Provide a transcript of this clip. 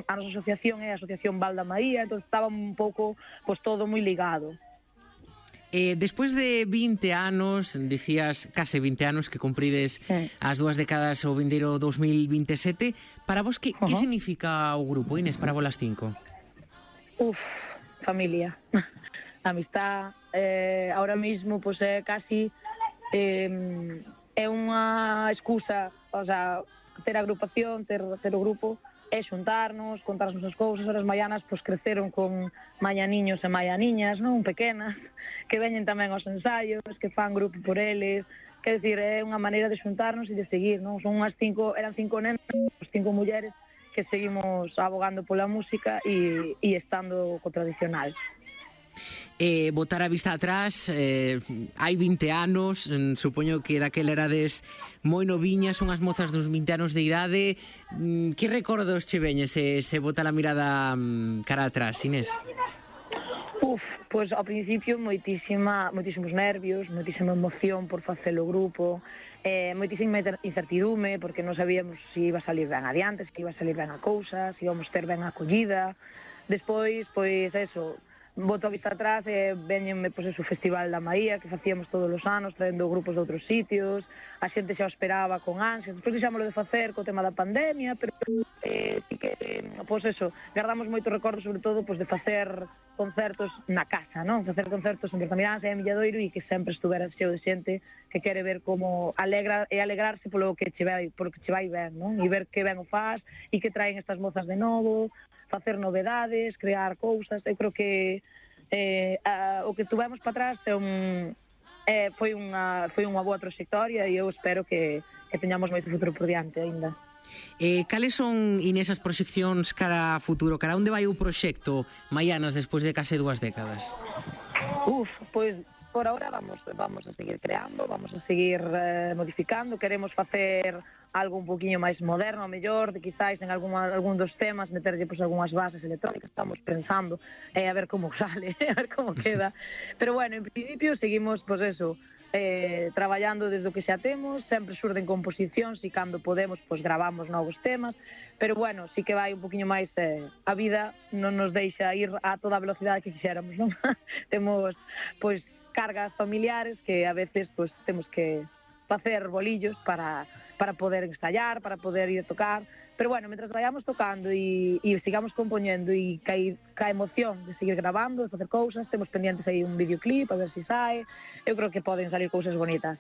a nosa asociación é a Asociación Val da Maía, entón estaba un pouco, pois, todo moi ligado. Despois de 20 anos, dicías case 20 anos que cumprides as 2 décadas o vindeiro 2027, para vos que significa o grupo, Inés, para vos las 5? Familia, amistad, ahora mismo pois é casi é unha excusa, o sea, ter agrupación, ter o grupo, é xuntarnos, contar as nosas cousas. As maianas pois creceron con maianiños e maianiñas, non, pequenas, que veñen tamén aos ensaios, que fan grupo por eles, quer decir, é unha maneira de xuntarnos e de seguir, non? Son unhas 5, eran 5 nenas, 5 mulleres que seguimos abogando pola música e estando co tradicional. Botar a vista atrás, hai 20 anos, supoño que daquela erades moi noviñas, unhas mozas dos 20 anos de idade. Que recordos che veñen se bota a mirada cara atrás, Inés? Pois ao principio moitísimos nervios, moitísima emoción por facer o grupo, moitísima incertidume porque non sabíamos se iba a salir ben adiante, se iba a salir ben a cousa, se íbamos ter ben a acollida. Despois, pois eso, boto a vista atrás e veñenme pois o Festival da Maía que facíamos todos os anos, traendo grupos de outros sitios, a xente xa o esperaba con ansias. Despois deixámoslo de facer co tema da pandemia, pero sí que, pois eso, guardamos moitos recordos, sobre todo, pois de facer concertos na casa, non? Facer concertos en Bertamiráns e en Milladoiro e que sempre estuvera cheo de xente que quere ver como alegrarse polo que che vai ben, non? E ver que ben o faz e que traen estas mozas de novo, facer novedades, crear cousas. Eu creo que o que tuvemos para atrás foi unha boa trayectoria e eu espero que teñamos moito futuro por diante aínda. Cales son, Inés, as proxeccións cara a futuro? Cara onde vai o proxecto Maianas despois de case 2 décadas? Pois por ahora vamos a seguir creando, vamos a seguir modificando, queremos facer algo un poquinho máis moderno, a mellor, de quizáis en algún dos temas meterlle pois algunhas bases electrónicas, estamos pensando a ver como sale, a ver como queda. Pero bueno, en principio seguimos pois eso, traballando desde o que xa temos, sempre surden composicións e cando podemos pois gravamos novos temas, pero bueno, sí que vai un poquinho máis, a vida non nos deixa ir a toda a velocidade que quixéramos, non? Temos pois cargas familiares que a veces pois temos que facer bolillos para poder ensayar, para poder ir a tocar, pero bueno, mentras vayamos tocando e sigamos compoñendo e ca emoción de seguir grabando, de facer cousas, temos pendientes aí un videoclip, a ver se sae, eu creo que poden salir cousas bonitas.